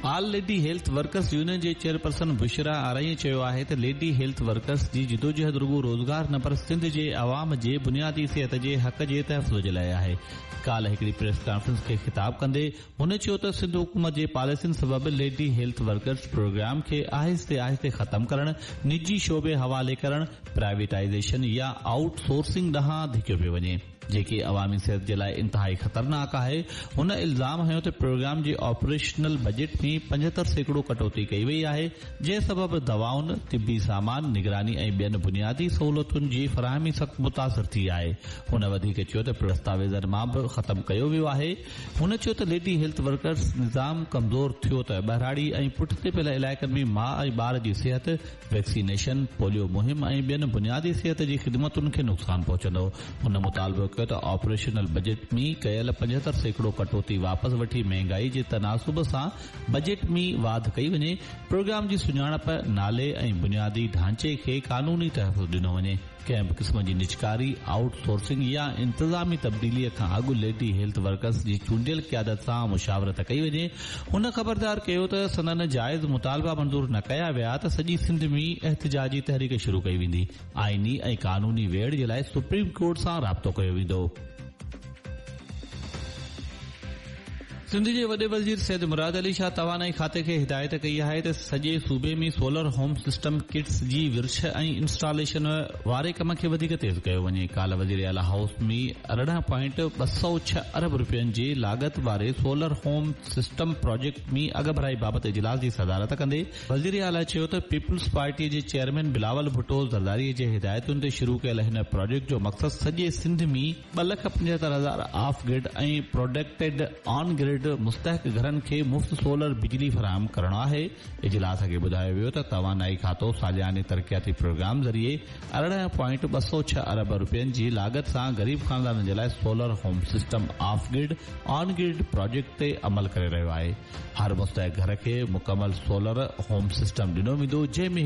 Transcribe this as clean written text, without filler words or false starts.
All lady health workers union جي chairperson Bushra آرائين چيو آهي ته ليڊي هيلٿ ورڪرز جي جدوجهد رڳو روزگار نه پر سنڌ جي عوام جي بنيادي صحت جي حق جي تحفظ جي لاء آهي. ڪالهه هڪڙي پريس ڪانفرنس کي خطاب ڪندي هن چيو ته سنڌ حڪومت جي پاليسين سبب ليڊي هيلٿ ورڪرز پروگرام کي آهستي آهستي ختم ڪرڻ، نجي شعبي حوالي ڪرڻ، پرائيويٽائيزيشن يا آئوٽ سورسنگ ڏانهن ڌڪيو پيو وڃي. جيڪي عوامي صحت جي لاء انتهائي خطرناڪ آهي. هن الزام هنيو ته پروگرام جي آپريشنل بجيٽ ۾ 75% ڪٽوتي ڪئي وئي آهي، جنهن سبب دوائن، طبي سامان، نگراني ۽ ٻين بنيادي سهولتن جي فراهمي سخت متاثر ٿي آهي. هن وڌيڪ چيو ته دستاويزن مان به ختم ڪيو ويو آهي. هن چيو ته ليڊي هيلٿ ورڪرز نظام ڪمزور ٿيو ته ٻهراڙي ۽ پٺتي پيل علائقن ۾ ماء ۽ ٻار جي صحت، ويڪسينيشن، پوليو مهم ۽ ٻين بنيادي صحت جي خدمتن کي نقصان پهچندو. هن مطالبو ڪيو ته آپريشنل بجيٽ ۾ ڪيل 75% ڪٽوتي واپس وٺي مهنگائي جي تناسب سان بجيٽ ۾ واڌ ڪئي وڃي، پروگرام جي سڃاڻپ، نالي ۽ بنيادي ڍانچي کي قانوني تحفظ ڏنو وڃي. ڪنهن به قسم جي نجڪاري، آئوٽ سورسنگ يا انتظامي تبديليء کان اڳ ليڊي هيلٿ ورڪرز جي چونڊيل قيادت سان مشاورت ڪئي وڃي. هن خبردار ڪيو ته سندن جائز مطالبا منظور نه ڪيا ويا ته سڄي سنڌ ۾ احتجاجي تحريڪ شروع ڪئي ويندي، آئيني ۽ قانوني ويڙهه جي لاء سپريم ڪورٽ سان رابطو ڪيو ويندو. سنڌ جي وڏي وزير سيد مراد علي شاهه توانائي کاتي کي هدايت ڪئي آهي ته سڄي صوبي ۾ سولر هوم سسٽم ڪٽس جي ورڇ ۽ انسٽاليشن واري ڪم کي وڌيڪ تيز ڪيو وڃي. ڪالهه وزيراعليٰ هائوس ۾ 18.206 ارب رپين جي لاڳت واري سولر هوم سسٽم پراجيڪٽ ۾ اڳڀرائي بابت اجلاس جي صدارت ڪندي وزيراعليٰ چيو ته پيپلز پارٽي جي چيئرمين بلاول ڀٽو زرداري جي هدايتن تي شروع ڪيل هن پراجيڪٽ جو مقصد سڄي Sindh ۾ 2,75,000 off grid ۽ protected on grid مستحق گهرن کي مفت سولر بجلي فراهم ڪرڻ آهي. اجلاس کي ٻڌايو ويو ته توانائي کاتو سالياني ترقياتي پروگرام ذريعي 18.206 ارب رپين جي لاڳت سان غريب خاندانن جي لاء solar home system off grid on grid project تي عمل ڪري رهيو آهي. هر مستحق گهر کي مڪمل سولر هوم سسٽم ڏنو ويندو جنهن ۾